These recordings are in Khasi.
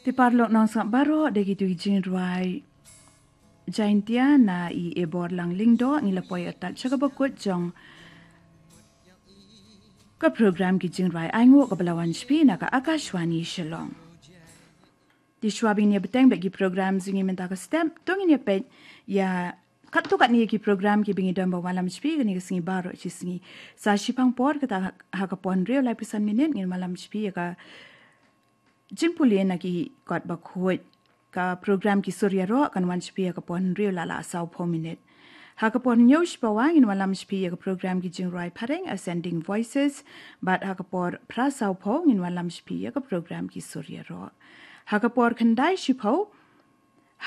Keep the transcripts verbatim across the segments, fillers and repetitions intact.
Te paralok nongsngap baroh, da kito ki jingrwai Jaintia na i Ebor Langlyngdoh ngi la poi artat sha kaba kut jong ka program ki jingrwai ainguh kaba la wan sha phi na ka Akashvani Shillong. Te shwa ba ngin ïa bteng bad ki program jong ngi mynta ka step, to ngin ïa peit ïa katto katne ki program kiba ngi don ban wallam sha phi kane ka sngi baroh shi sngi. Sa shiphang por, kata ha ka por hynriew laiphew san minit, ngin wallam sha phi ïa ka jingpule na ki kot bakhuid. Ka program Ki Sur Ïaroh kan wan sha phi ha ka por hynriew la la sawphew minit. Ha ka por hynñiew shi pawa ngin wallam sha phi ïa ka program ki jingrwai phareng, Ascending Voices, bad ha ka por phra sawphew ngin wallam sha phi ïa ka program Ki Sur Ïaroh. Ha ka por khyndai shiphew,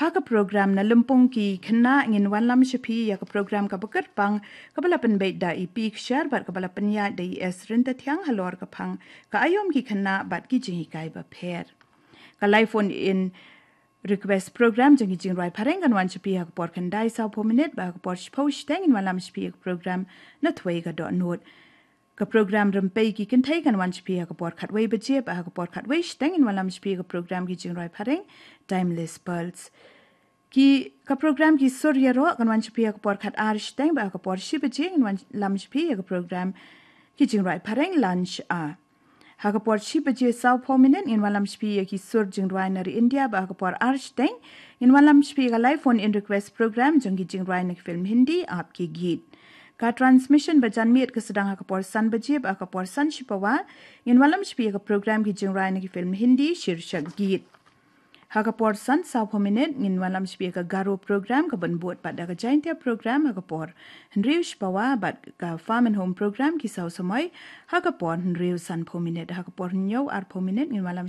ha ka program Na Lympung Ki Khynnah ngin wallam sha phi ïa ka program kaba kyrpang, kaba la pynbeit da i P Kshar bad kaba la pynïaid da i S Ryntathiang halor ka phang Ka Aïom ki Khynnah bad ki Jinghikai Bapher. Ka live phone in request program jong ki jingrwai phareng kan wan sha phi ha ka por khyndai sawphew minit, bad ha ka por shiphew shiteng ngin wallam sha phi ïa ka program Na Thwei Ka Dohnud. Ka program Rympei Ki Kynthei kan wan sha phi ha ka por khatwei baje, bad ha ka por khatwei shiteng ngin wallam sha phi ïa ka program ki jingrwai phareng, Timeless Pearls. Ki, ka program Ki Sur Ïaroh kan wan sha phi ha ka por khatar shiteng, bad ha ka por shi baje ngin wallam sha phi ïa ka program ki jingrwai phareng, Lunch Hour. Ha ka por shi baje sawphew minit ngin wallam sha phi ïa ki sur jingrwai na ri India, bad ha ka por ar shiteng ngin wallam sha phi ïa ka live phone in request program jong ki jingrwai na ki film Hindi, Aap Ke Geet. Ka transmission ba janmiet ka sdang ha ka por san baje, bad ha ka por san shi pawa ngin wallam sha phi ïa ka program ki jingrwai na ki film Hindi, Sheershak Geet. Ha ka por san sawphew minit ngin wallam sha phi ïa ka Garo program kaban bud pat da ka Jaintia program ha ka por hynriew shi pawa, bad ka Farm and Home program Ki Saw Samoi ha ka por hynriew sanphew minit. Ha ka por hynñiew arphew minit ngin wallam